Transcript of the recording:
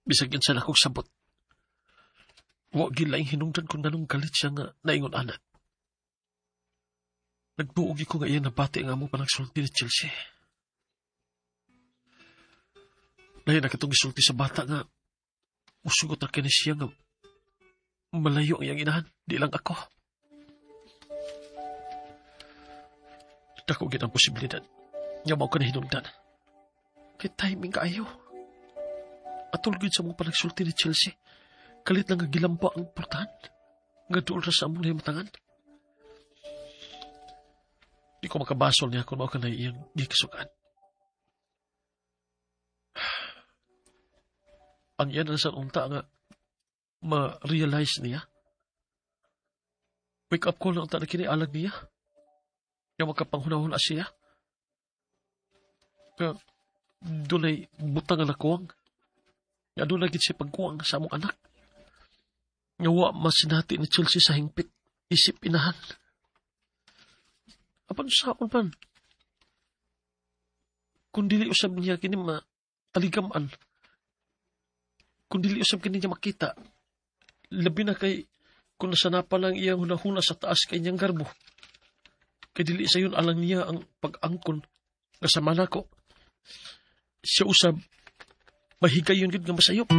Bisag unsa na akong sabot, wa gyud laing hinungdan kung nganong galit siya nga naingon ana. Nagtuo gyud ko nga iyang nabati ang among panagsulti ni Chelsea. Lahi na katong gisulti sa bata nga musugot ra kini siya nga malayo ang iyang inahan, di lang ako. Dako gyud ang posibilidad nga mao ka na hinungdan. Kay timing kaayo. Atol gyud sa among panagsulti ni Chelsea. Kalit lang nga gilamba ang portahan. Nga duol ra sa among nahimatangan. Di ko makabasol niya kung mao ka na iyang gikasukan. Ang iyan na sa unta nga ma-realize niya. Wake up call na unta na kini alag niya. Nga makapanghunahuna siya. Nga dunay butang nga nakuwang. Nga dunay gid siya pagkuwang sa among anak. Nga wa masinati ni Chelsea sa hingpit isip inahan. Apan saon man? Kung dili usab niya kini mataligaman, kung dili usab kini niya makita, labi na kay kung nasanapan lang iyang hunahuna sa taas kay niyang garbo. Kay dili sayon alang niya ang pag-angkon nga sama nako. Siya usab, mahigayon gid nga masayop.